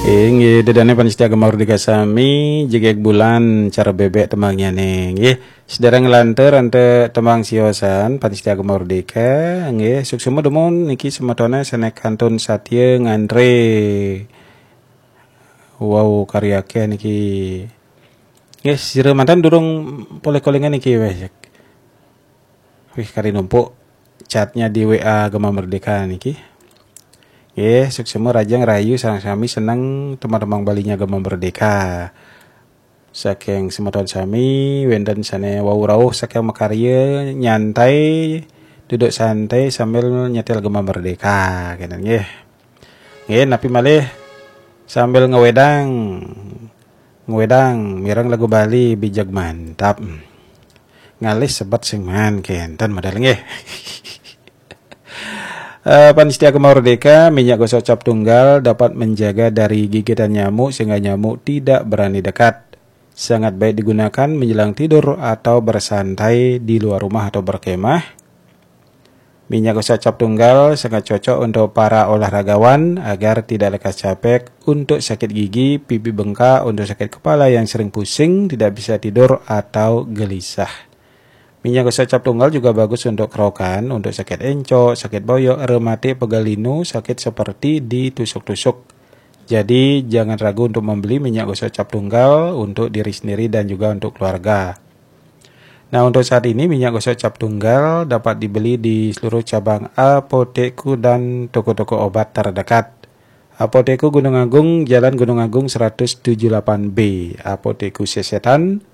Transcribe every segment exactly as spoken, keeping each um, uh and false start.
Inggih, ida dané pamiarsa Gema Merdeka sami, jegég bulan cara bébék tembangnya né. Inggih, sedéréng nglantur antuk tembang siosan, pamiarsa Gema Merdeka. Inggih, suksma dumun niki semetoné sané kantun satia ngantré. Wow, karya akéh niki. Inggih, sira manten durung polih kolingan niki wéh. Wih, kari numpuk chatnya di W A Gema Merdeka niki. Nggih, suksma rahajeng rahayu sareng sami seneng tembang-tembang Balinya Gema Merdeka. Saking semeton sami, wénten sané wau rauh saking makarya nyantai, duduk santai sambil nyetel Gema Merdeka, kénten nggih. Nggih, napi malih sambil ngwédang, ngwédang mireng lagu Bali bijeg mantap. Ngalih sebet sing maan kénten modal nggih. Eh, pamiarsa Gema Merdeka, minyak gosok cap tunggal dapat menjaga dari gigitan nyamuk sehingga nyamuk tidak berani dekat. Sangat baik digunakan menjelang tidur atau bersantai di luar rumah atau berkemah. Minyak gosok cap tunggal sangat cocok untuk para olahragawan agar tidak lekas capek, untuk sakit gigi, pipi bengkak, untuk sakit kepala yang sering pusing, tidak bisa tidur atau gelisah. Minyak gosok cap tunggal juga bagus untuk kerokan, untuk sakit encok, sakit boyok, rematik, pegal linu, sakit seperti ditusuk-tusuk. Jadi, jangan ragu untuk membeli minyak gosok cap tunggal untuk diri sendiri dan juga untuk keluarga. Nah, untuk saat ini minyak gosok cap tunggal dapat dibeli di seluruh cabang Apotekku dan toko-toko obat terdekat. Apotekku Gunung Agung, Jalan Gunung Agung seratus tujuh delapan B. Apotekku Sesetan,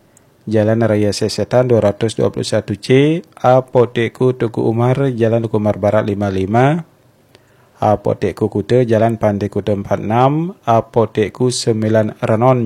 Jalan Raya Sesetan dua ratus dua puluh satu C. Apotekku Teuku Umar, Jalan Teuku Umar Barat lima lima. Apotekku Kuta, Jalan Pantai Kuta empat enam. Apotekku Sembilan Renon,